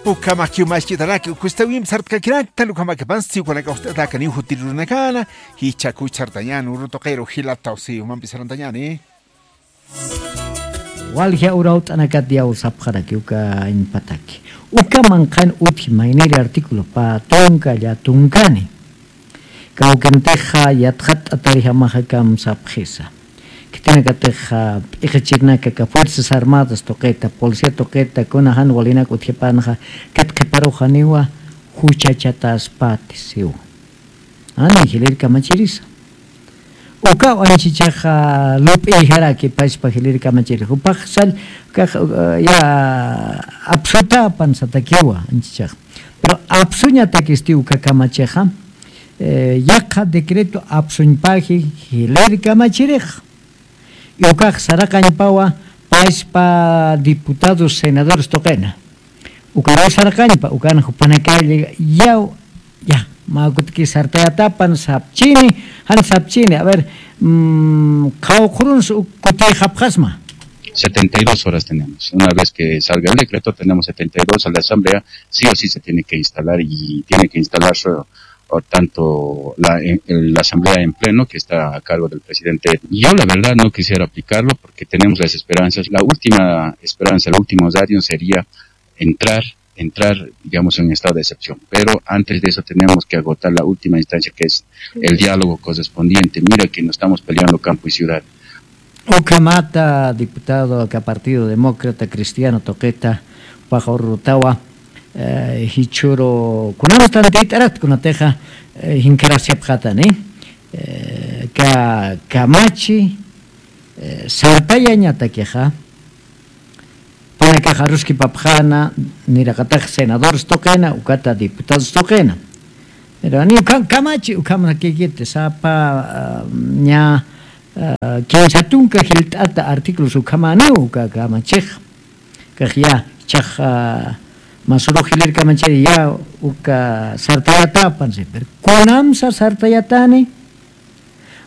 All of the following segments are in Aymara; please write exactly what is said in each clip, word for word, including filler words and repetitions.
Ukhamakiw machkitanaka, ukhustawimp sartkakiraktan, ukhamakapansti ukanaka uxt'atakaniw jutirirunakana, jichhakuch sartañäni, uru tuqiru jilataw, si umampi sarantañäni. Walja urawt'anakat yaw sapxaraki uka añpataki. Uka manqhan utji mayniri artículo pä tunka, llä tunkani. Kawkintixa yatxatt'atarijamaxa kamsapxisa. Khitinakatixa p'iqichirinaka aka Fuerzas Armadas tuqita, policía tuqita, kuna jan walinak utjipanxa, kit qhiparuxaniwa juchachataspati siwa. Ani, jilïr kamachirisa. Ukaw anchichaxa lup'iyjaraki paspa jilïr kamachiri. Jupax sall, ukax, uh, ya apsutapan satakiwa anchichaxa. Pero apsuñatakisti uka kamachixa, eh, yaqha decreto apsuñpaji jilïr kamachirix. Y ukax saraqañpawa paspa diputados, senadores tuqina. Ukaruw saraqañpa, ukan jupanakalla yaw, ya, mä kutki sartayatapan sapchini, jan sapchini, a ver, mm, qhawqhurunsa uk kutiyxapxasma. Setenta y dos horas tenemos. Una vez que salga el decreto, tenemos setenta y dos a la asamblea, sí o sí se tiene que instalar y tiene que instalarse o tanto la, el- la asamblea en pleno que está a cargo del presidente. Yo la verdad no quisiera aplicarlo porque tenemos las esperanzas. La última esperanza, el último radio sería entrar, entrar, digamos, en estado de excepción. Pero antes de eso tenemos que agotar la última instancia que es el diálogo correspondiente. Mira que nos estamos peleando campo y ciudad. Ukhamata diputado aka Partido Demócrata Cristiano tuqita, jupax ururutawa, eh, jichhüru kunamsa tantiyt'arat kunatixa, eh, jinkharasiapxatani, eh, ka-, kamachi, eh, sartayañatakixa, jupanakax aruskipapxäna, niraqatax senadores tuqina, ukata diputados tuqina. Pero ni ukham kamachi, ukhamakïkiti, sapa, ah, ña, ah, kimsa tunka jilt'ata artículos ukhamäniw uka kamachix. Kax ya, jichhax, ah, masürux jilïr kamachiri ya uka sartayatapan, sí. Pero kunamsa sartayatani,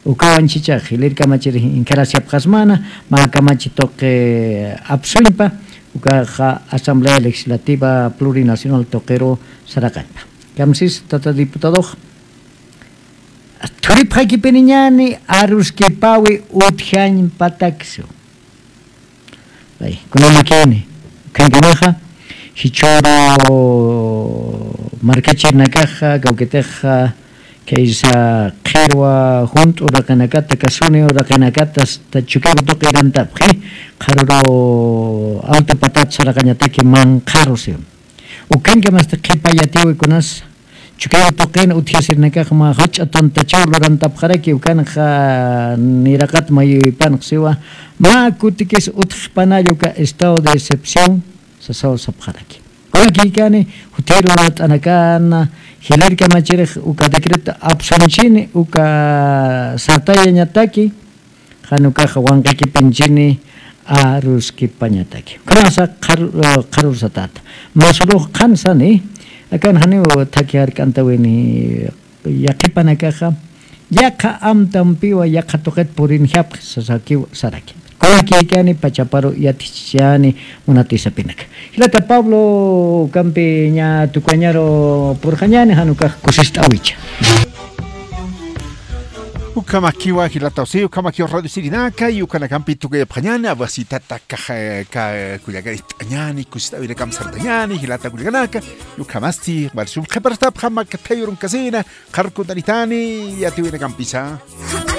ukaw anchichax jilïr kamachiri jinkharasiapxasmana, mä kamachi tuqi apsuñpa, ukaxa Asamblea Legislativa Plurinacional tuqiru saraqañpa. Kamsis, tata diputadox, thuripxakipiniñäni aruskipäwi utjañ patakisu. Ay, kunamakini, ukhankamaxa, jichhüru markachirinakaxa, kawkitixa, kaysa qhirwa junt'u uraqinakata, kasuni uraqinakata, hasta Chukiyawu tuqi irantapxi, qharüru alta patat saraqañataki manqharu siw. Ukhankamasti qhipa yatiwi kunas, Chukiyawu tuqin utjasirinakax mä jach'a tantachaw lurantapxaraki, ukanxa niraqat mayuypanx siwa, mä kutikis utjxpanalla uka estado de excepción sasaw sapxaraki. Kunakïkani, jutiru lurt'anakana, jilïr kamachirix uka decreto apsuñchini, uka sartayañataki, jan ukax wanqikipinchini aruskipañataki. Kunasa qhar-, eh, qharürsatata. Masürux qhan sani, akan janiw thakhi jark'antawini yaqhipanakaxa, yaqha amtampiwa yaqha tuqit purinjapxi sasakiw saraki. Kunakïkani pachaparu yatichani munati sapinaka. Jilata Pablo, ukampi ña tukuñaru purxañäni, jan ukax kusist'äwicha. Ukhamakiwa jilataw, sí, ukhamakiwa radio sirinaka, y ukanakampi tukuyapxañäni, awasitata kaxa, ka-, kullakanist'añäni, kusist'äwinakamp sartañäni, jilata kullakanaka, y ukhamasti, wal sum qhiparastapxam, makathayurunkasina, qhar kuntanitani, yatiwinakampisa.